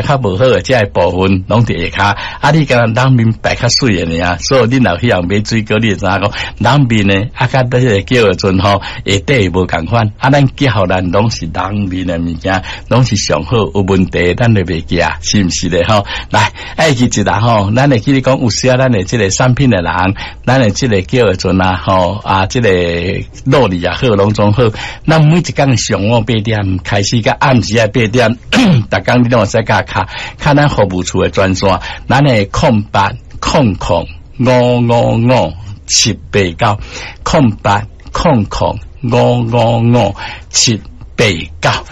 較無好的這个部分攏佇下跤，啊，你敢若人面白較媠的爾，所以你若去人買水果，你會知影講人面的啊，佮這个叫做吼下底無仝款，啊，咱寄予咱攏是人面的物件，攏是上好有問題，咱就袂寄，是毋是咧吼？來，愛記一下吼，咱會記得講有時啊，咱的這个產品的人，咱的這个叫做啊吼啊，這个努力也好，攏總好。咱每一工上午八點開始，佮暗時仔八點，逐工你攏會使共敲敲咱服務處的專線，咱的080005555789，08000555 789。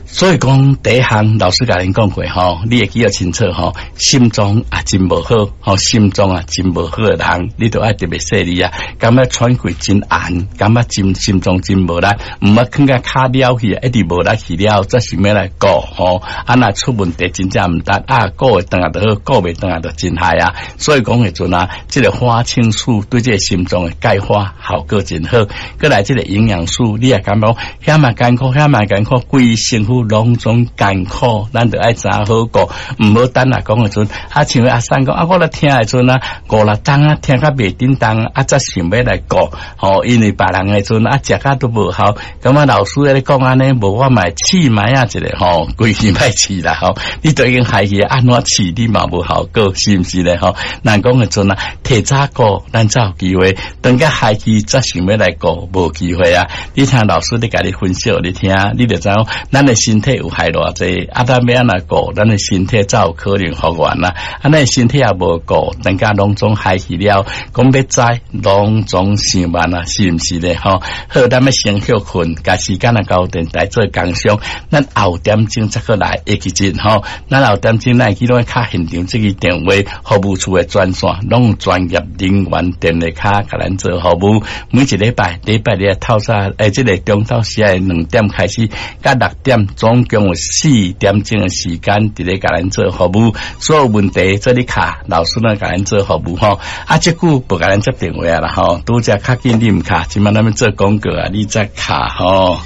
所以講第一項老師共恁講過吼，你會記得清楚吼，心臟啊真無好，吼心臟啊真無好的人，你都愛特別細膩啊，感覺喘氣真絚，感覺真心臟真無力，毋捌囥共跤了去，一直無力去了，才想欲來顧吼，啊若出問題真正毋值啊，顧會轉來就好，顧袂轉來就真害啊。所以講的陣啊，這个花青素對這个心臟的鈣化效果真好，閣來這个營養素，你也感覺遐嘛艱苦，遐嘛艱苦，規身軀攏總艱苦，咱著愛知影好顧，毋好等啊講的陣，啊像阿三講啊，我咧聽的陣啊，五六冬啊，聽甲袂振動啊，才想欲來顧，吼，因為別人的陣啊，食甲都無效，感覺老師咧講按呢，無我嘛會試覓仔一下吼，規氣莫試啦吼，你都已經害去按怎試你嘛無效果，是毋是咧吼？人講的陣啊，提早顧，咱才有機會，等甲害去才想欲來顧，無機會啊！你聽老師咧共你分析予你聽，你就知影咱的身體有害偌濟，啊，咱欲按怎顧，咱的身體才有可能復原啊！啊，咱的身體也無顧，等甲攏總害去了，講欲知攏總傷慢啊，是毋是咧？吼，好，咱欲先歇睏，共時間啊交電台做工商，咱後點鐘才閣來會記得吼，咱後點鐘咱會記攏敲現場這個電話服務處的專線，攏有專業人員電話卡共咱做服務。每一禮拜禮拜日透早，欸，這个中晝時的2點開始，到6點，總共有4點鐘的時間，佇咧共咱做服務。所有問題做你敲，老師呢共咱做服務吼。啊，這久無共咱接電話啊啦吼，拄則較緊你毋敲，這擺咱欲做廣告啊，你才敲吼。